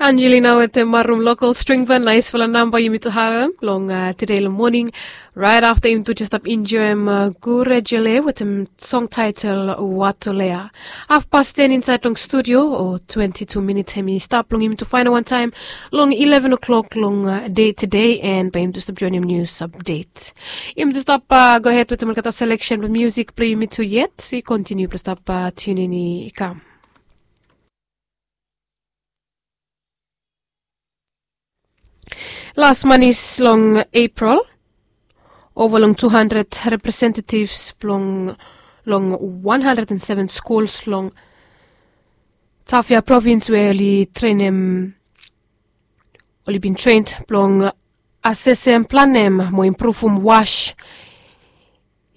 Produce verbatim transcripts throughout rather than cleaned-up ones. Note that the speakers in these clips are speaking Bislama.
Angelina wetem Marum Local String Band, naisfala namba yumi tu harem long tide long moning. Rait afta yumi tu jes stap enjoem Gure Jele wetem song taetel Watolea. Hafpas ten insaed long studio o twenti tu minit hem i stap long yumi tu faenol wantaem long ileven o'clock long dei tide, en bae yumi tu stap joenem nius apdet. Yumi tu stap gohed wetem olgeta seleksen blong musik blong yumi tu yet. I kontiniu blong stap tiunin i kam. Las manis long Epril, ova long tu handred representetivs blong long wan handred en seven skuls long Tafia provins we oli trenem oli bin tren blong asesem, planem mo impruvum was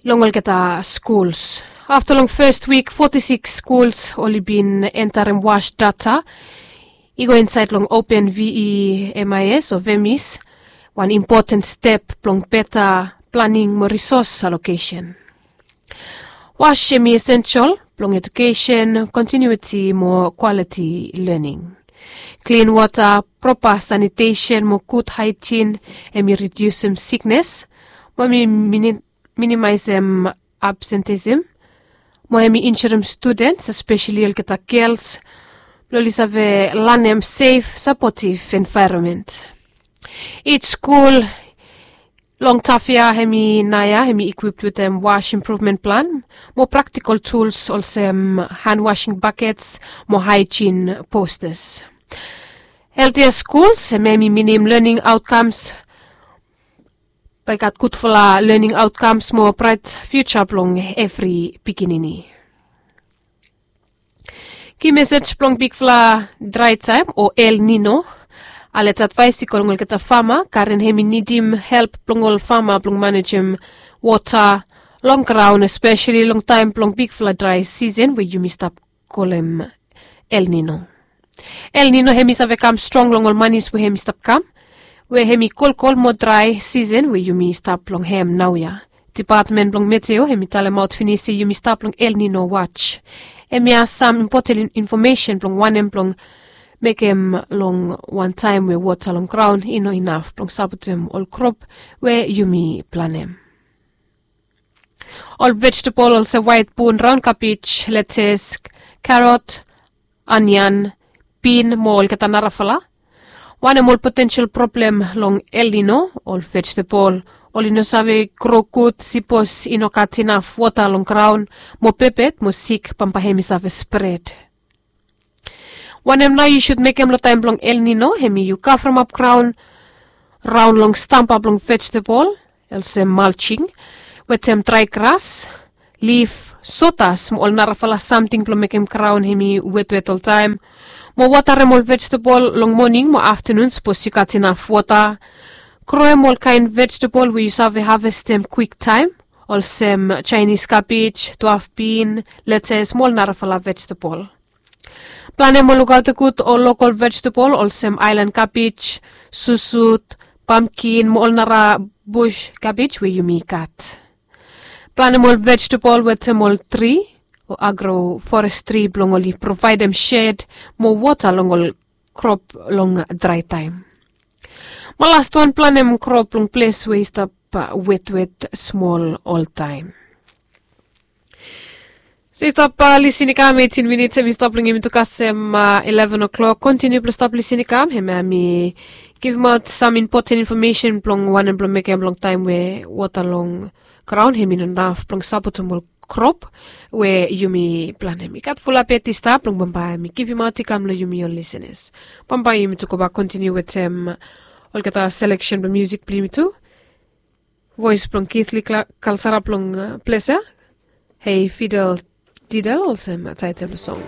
long olgeta skuls. Afta long fes wik foti siks skuls oli bin entarem was data i go insaed long open VEMIS o VEMIS, wan impoten step blong beta planing mo risos alokesen. Was hem i esensel blong edukesen, kontiniuiti mo kwaliti lening. Klin wota, propa sanitesen mo gud haejin hem i ridiusim siknes mo hem i minimaesem absentism mo hem i injurem studens, espeseli olgeta gels, blong oli save lanem sef sapotiv envaeronmen. Ij skul long Tafia hem i naoia hem i ikwip wetem was impruvmen plan mo praktikol tuls olsem han wasing bakets mo haejin postas. Heltia skuls hem hem i minim lening aotkams bae i gat gudfala lening aotkams mo braet fiuja blong evri pikinini. Ki mesej blong bigfala draetaem o El Nino. Alet advaes i go long olgeta fama karen hem i nidim help blong ol fama blong manejem wota long graon, espeseli long taem blong bigfala drae sisen we yumi stap kolem El Nino. El Nino hem i save kam strong long ol manis we hem i stap kam, we hem i kolkol mo drae sisen we yumi stap long hem naoia. Depatmen blong meteo hem i talemaot finis se yumi stap long El Nino was. Hem i gat sam impoten infomesen blong wanem blong mekem long wan taem we wota long graon i no inaf blong sapotem ol krop we yumi planem. Ol vejetebol olsem waet bun, raon kabej, letes, karot, onian, bin mo olgeta narafala. Wanem ol potensel problem long El Nino, ol vejetebol oli no save gro gud sipos i no gat inaf wota long graon, mo pepet mo sik bambae hem i save spred. Wanem nao yu sud mekem long taem blong El Nino? Hem i yu kavremap graon raon long stamba blong vejetebol olsem malsing wetem drae gras, lif, sotas mo ol narafala samting blong mekem graon hem i wetwet oltaem, mo wotarem ol vejetebol long moning mo aftenun sipos yu gat inaf wota. Groem ol kaen vejetebol we yu save havestem kwiktaem, olsem jaenis kabej, dwaf bin, letes mo ol narafala vejetebol. Planem mo lukaotem gud ol lokol vejetebol olsem aelan kabej, susut, pamkin mo ol nara bus kabej we yumi gat. Planem ol vejetebol wetem ol tri o agroforestri blong oli provaedem sed mo wota long ol krop long draetaem. Mo lastwan, planem krop long ples we i stap wetwet smol oltaem. So i stap lisin i kam, eitin minits hem i stap long yumi tu kasem ileven o'clock. Kontiniu blong stap lisin i kam, hemia mi givimaot sam impoten infomesen blong wanem blong mekem long taem we wota long graon hem i no inaf blong sapotem ol krop we yumi planem. I gat fulap yet i stap blong bambae mi givimaot i kam long yumi ol lisenas. Bambae yumi tu gobak kontiniu wetem olgeta seleksen blong musik blong yumi tu. Voes blong Keith Lee Kalsara blong ples ya. Hei Fidel Didel olsem taetel blong song.